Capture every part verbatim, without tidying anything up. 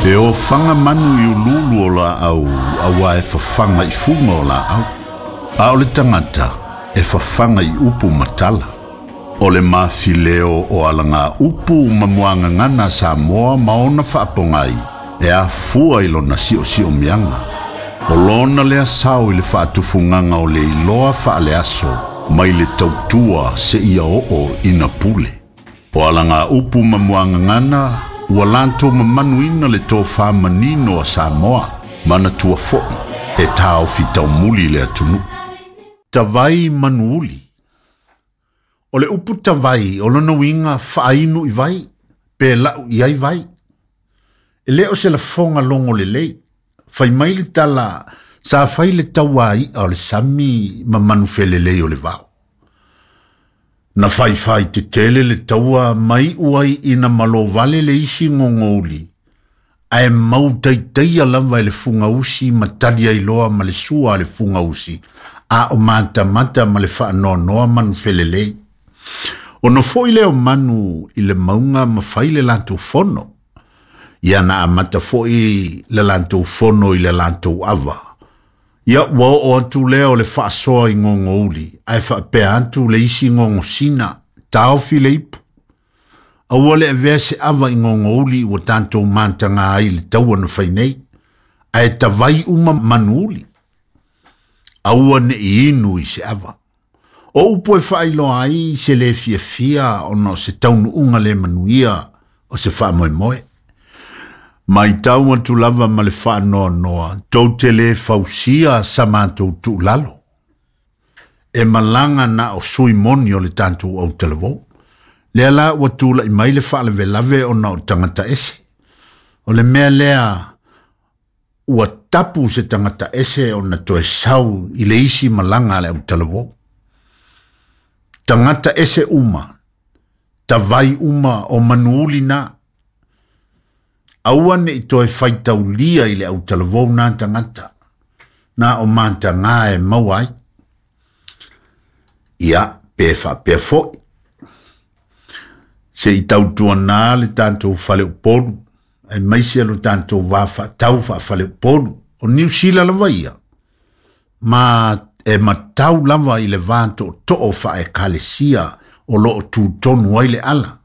E ofaga manu i ululu o laau auā e fafaga i fuga o laau. A o le tagata e fafaga i upu ma tala. O le mafileo o alaga upu ma muagagana Samoa ma ona faapogai e afua i lona siosiomiaga. O lona lea sao i le faatufugaga o le iloa faaleaso mai le tautua seia oo ina pule. O alaga upu ma muagagana ua latou mamanuina le tofā manino a Samoa manatua fo'i e taofi taumuli le atunuu. Tavai manuuli. O le upu tavai o lona uiga faainu i vai, pe lau i ai vai. E le o se lafoga logo lelei. Fai mai le tala sa fai le tauai'a o le sami ma manufelelei o le vao. Na faifai tetele le taua mai i'u ai ina malovale le isi gogouli, ae mau taitaia lava e le fugausi ma tali ai loa ma le sua a le fugausi, a o matamata ma le faanoanoa manufelelei. Ona fo'i lea o manu i le mauga ma fai le latou fono. Ia na amata fo'i le latou fono i le latou ava. Ia ua oo atu lea o le faasoa i gogouli, ae faapea atu le isi gogosina, taofi le ipu. Aua le avea se ava i gogouli ua tatou mataga ai i le taua na fai nei, ae tavai uma manuuli. Aua ne'i inu i se ava. O upu e faailoa ai se lē fiafia ona o se taunuuga le manuia o se faamoemoe. Maitau atu lava ma le faanoanoa, tou te lē fausia sa matou tuulalo. E malaga na o sui moni o le tatou autalavou. Lea la ua tula'i mai le faalavelave ona o tagata ese. O le mea lea ua tapu se tagata ese ona toe sau i le isi malaga a le autalavou. Tagata ese uma, tavai uma o manuuli na. Aua ne'i toe faitaulia i le autalavou na tagata. Na o matagā e maua ai. Ia, pe faapea fo'i. Se i tautuanā le tatou faleupolu, aemaise lo tatou va faatau faafaleupolu. O Niu Sila lava ia. Ma e matau lava i le va tootoo faaekalesia o loo tutonu ai le ala.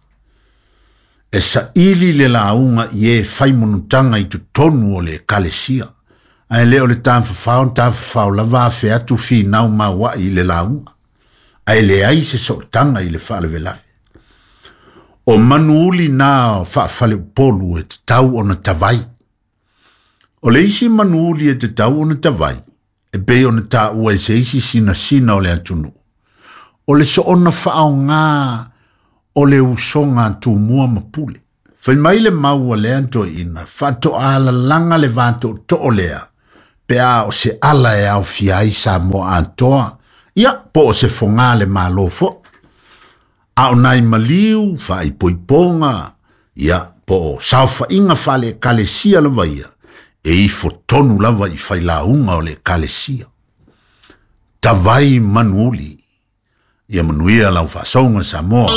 E saili le lauga i e fai monutaga i totonu o le ekalesia. Ae le o le tafafao tafafao lava afe atu finau maua'i i le lauga. Ae leai se sootaga i le faalavelave. O manuuli na faafaleupolu e tatau ona tavai. O le isi manuuli e tatau ona tavai, e pei ona taua e se isi sinasina o le atunuu. O le soona faaogā o le usoga a Tumua ma Pule. Fai mai le mau a lea toeaina, faatoa le va tootoo lea, pe a o se ala e aofia ai Samoa atoa, ia po o se fogā le Malo fo'i. A o nai maliu, faaipoipoga, ia po o saofaiga faale-ekalesia lava ia, e ifo tonu lava i failauga o le ekalesia. Tavai manuuli. Ia manuia lau faasoga Samoa.